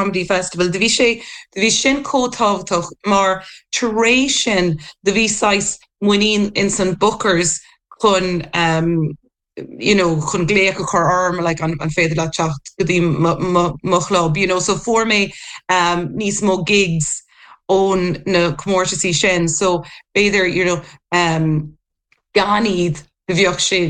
Comedy Festival, do bhí sé, do bhí sin chomh tábhachtach mar tar éis sin do bhí saghas muinín ins an bookers chun um, you know, chun glaoch a chur orm like an, an féidir leat teacht go dtí mo, mo, mo chlub, you know, so fuair mé um, níos mó gigs ón na comórtasaí sin, so b'fhéidir, you know, um, gan iad do bheadh sé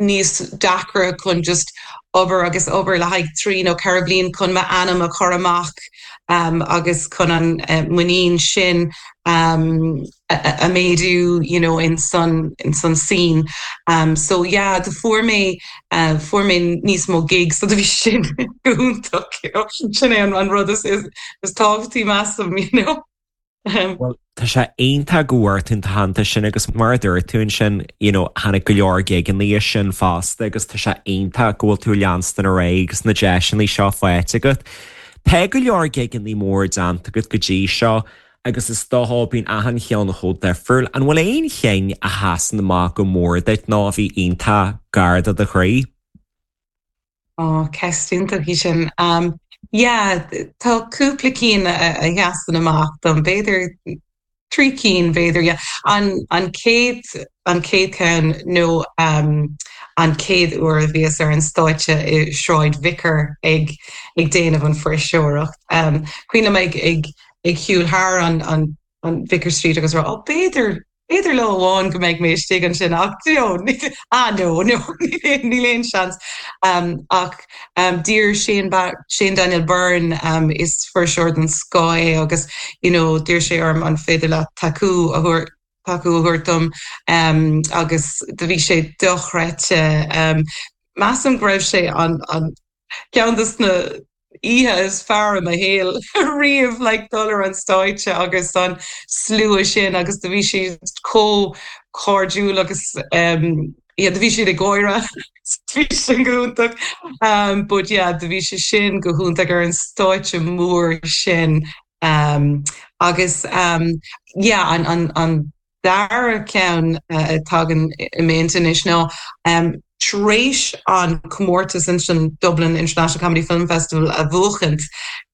níos deacra chun just obair agus obair le haghaidh 3 nó 4 bliain chun m'ainm a chur amach agus chun an muinín sin a méadú you know in san in san scene. So yeah do fuair mé fuair mé níos mó gigs so do bhí sin go hiontach you know sin é an rud is is tábhachtaí measaim you know. Bhuel, tá sé iontach go bhfuair tú an t-aitheantas sin agus mar a dúirt tú ansin, you know, tháinig go leor gigeanna as sin fosta agus tá sé iontach go bhfuil tú ag leanstan ar aghaidh agus na deiseanna seo faighte agat. Tá go leor gigeanna mór déanta agat go dtí seo agus is dócha bíonn achan cheann chomh difriúil. An bhfuil aon chinn a sheasann amach go mór duit nó a bhí iontach gar do do chroí? Ó, ceist iontach í sin. Yeah, tá cúpla cinn a sheasann amach dom, b'fhéidir trí cinn, b'fhéidir, yeah. An, an chéad, an chéad cheann nó an chéad uair a bhíos ar an stáitse i Sráid Vicar ag, ag déanamh an fuirseoireacht. Cuimhin liom ag, ag, ag shiúl thar an, an, an Vicar Street agus rá, ó, b'fhéidir, B'fhéidir lá amháin go mbeidh mé istigh ansin ach you know ah no no níl aon seans. Ach d'iarr Shane Shane Daniel Byrne is fuirseoir den scoth é agus you know d'iarr sé orm an féidir leat tacú a thabhairt tacú a thabhairt dom agus do bhí sé dochreidte. Measaim go raibh sé an an ceann de na oíche is fearr i mo shaol riamh like dul ar an stáitse agus an slua sin agus do bhí siad chomh cairdiúil agus um yeah do bhí siad ag gáire bhí sin go hiontach um but yeah do bhí sé sin go hiontach ar an stáitse mór sin um agus um yeah an an an dara ceann a tagann i m'intinn anois ná tar éis an comórtas ansin Dublin International Comedy Film Festival a bhuachaint,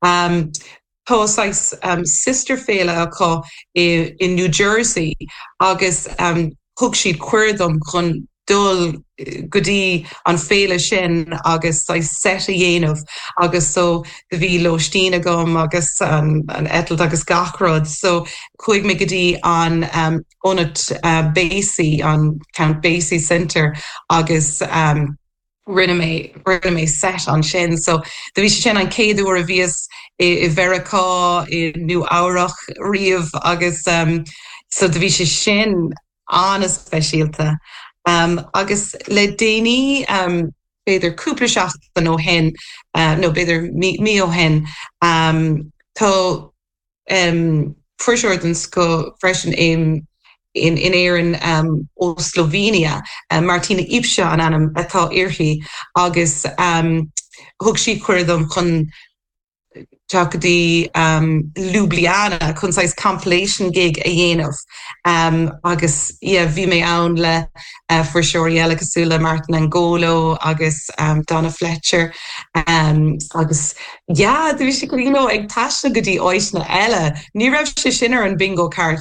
tá saghas sister féile acu i New Jersey agus thug siad cuireadh dom chun dul go dtí an féile sin agus saghas set a dhéanamh agus so do bhí lóistín agam agus an eitilt agus gach rud so chuaigh mé go dtí an ionad Basie, an Count Basie Centre agus rinne mé rinne mé set ansin so do bhí sé sin an chéad uair a bhíos i Mheiriceá i Nua Eabhrach riamh agus so do bhí sé sin an-speisialta. Agus le déanaí, b'fhéidir cúpla seachtain ó shin, nó b'fhéidir mí ó shin, tá fuirseoir den scoth freisin in Éirinn ó Slovenia, Martina Ipša an ainm atá uirthi, agus thug sí cuireadh dom chun teacht go dtí Ljubljana chun saghas compilation gig a dhéanamh agus yeah bhí mé ann le fuirseoirí eile cosúil le Martin Angolo agus Donna Fletcher agus yeah bhí sé you know ag taisteal go dtí áiteanna eile ní raibh sé sin ar an bingo card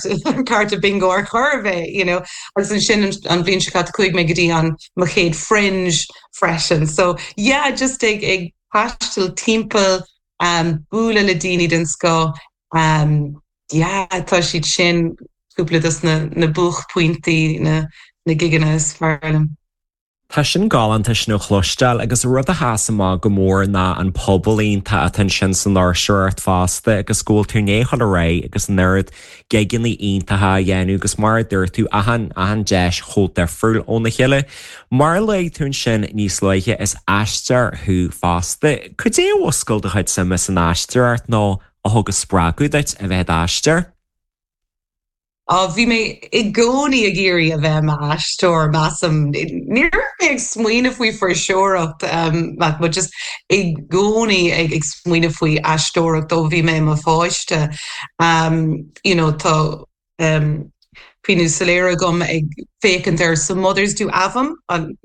cárta bingo ar chor ar bith you know agus ansin an bhliain seo caite chuaigh mé go dtí an mo chéad fringe freisin so yeah just ag ag taisteal timpeall, bualadh le daoine den scoth, yeah tá siad sin cúpla dos na na buaicphointí, na na gigeanna is fearr liom. Tá sin galánta sin a chloisteáil agus rud a sheas amach go mór ná an pobal iontach atá ansin san fhuirseoireacht fosta agus go bhfuil tú i ndiaidh dul ar aghaidh agus an oiread gigeanna iontacha a dhéanamh agus mar a dúirt tú, achan, achan deis chomh difriúil óna chéile. Mar a luaigh tú ansin níos luaithe, is aisteoir thú fosta. Cad é a mhúscail do chuid suime san aisteoireacht nó a thug an spreagadh duit a bheith i d'aisteoir? Á, bhí mé i gcónaí ag iarraidh a bheith i m'aisteoir, measaim. Ní raibh mé ag smaoineamh faoi fuirseoireacht, but just i gcónaí ag smaoineamh faoi aisteoireacht ó bhí mé i mo pháiste. You know, tá cuimhní soiléire agam ag féachaint ar Some Mothers Do Have 'Em,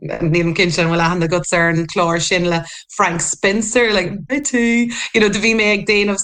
nílim cinnte an bhfuil aithne agat ar an chlár sin le Frank Spencer, like Betty, you know, do bhí mé ag déanamh.